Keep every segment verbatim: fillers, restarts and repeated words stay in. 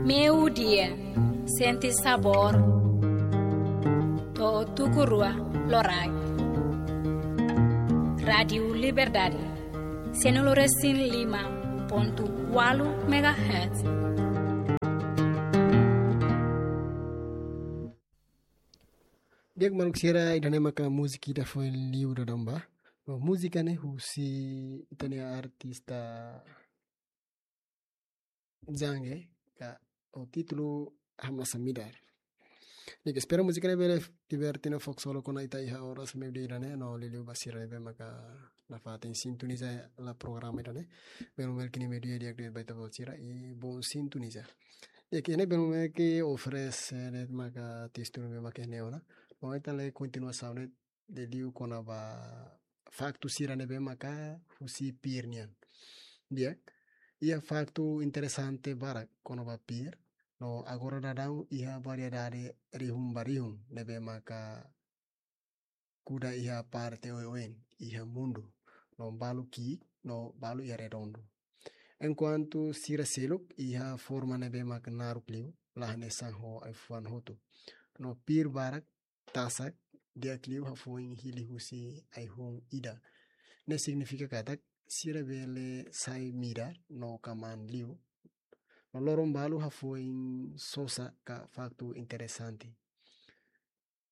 Meio-dia, sente sabor. To'o tuku rua loraik. Rádiu Liberdade, cento e cinco e cinco ponto oito megahertz. Di'ak maluk sira, ida-ne'e maka múzika ida foin liu dadaun ba. No múzika ne'e husi ita-nia artista Zange, ka ho títulu Hamnasa Midar. Di'ak, espera múzika ne'e bele liberte no fó ksolok ona ita iha oras meio-dia ida-ne'e, no liuliu ba sira ne'ebé maka nafatin sintoniza hela programa ida-ne'e. Belu mel kini meio-dia di'ak ba ita-boot sira, i bom sintoniza. Di'ak, ne'e belu mel ke oferese de'it maka testu ne'ebé maka ne'e ona. No ita lee kontinuasaun ne'e liuliu kona-ba faktu sira ne'ebé maka husi pir nian. Di'ak, iha faktu interesante barak kona-ba pir, no agora dadaun iha variedade rihun ba rihun ne'ebé maka kuda iha parte oioin iha mundu, no balu ki'ik, no balu iha redondu. Enkuantu sira seluk iha forma ne'ebé maka naruk liu, la hanesan ho ai-fuan hotu. No pir barak tasak di'ak liu hafoin hili husi ai-hun ida. Ne'e signifika katak sira bele sai midar no kamaan liu. No loron balu hafoin sosa ka faktu interesante.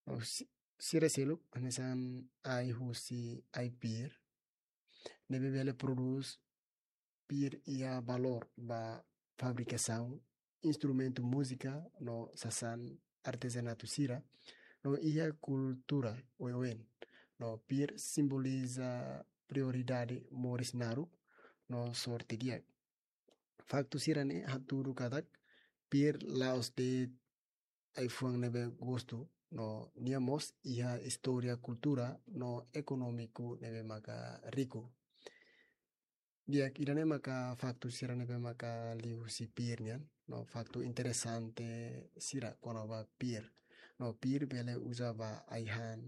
No si-, sira seluk hanesan ai husi ai-pir ne'ebé bele prodús pir iha valór ba fabrikasaun instrumentu múzika no sasán artezanatu sira, no iha kultura oioin. No pir simboliza prioridade moris naruk no sorte di'ak. Faktu sira-ne'e hatudu katak pir la'ós de'it ai-fuan ne'ebé gostu, no nia mós iha istória, kultura no ekonómiku ne'ebé maka riku. Di'ak, ida-ne'e maka faktu sira ne'ebé maka liu husi pir nian, no faktu interesante sira kona-ba pir. No pir bele uza ba ai-han,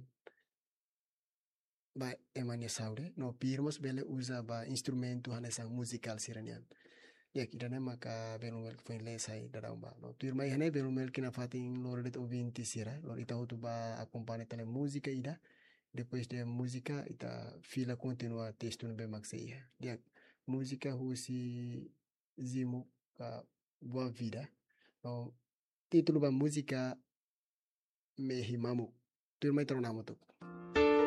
ba ema nia saúde, no pir mós bele uza ba instrumentu hanesan muzikál sira nian. Di'ak, ida-ne'e maka belu mel foin lee sai dadaun ba. No tuirmai iha ne'e belu mel kina fatin lori de'it ouvinte sira, lori ita hotu ba akompaña tale múzika ida. Depois de múzika, ita fila kontinua testu ne'ebé mak sei iha. Di'ak, múzika husi Zimu ka Boa Vida. No títulu ba múzika Mehi Mamuk. Tuirmai ita rona hamutuk.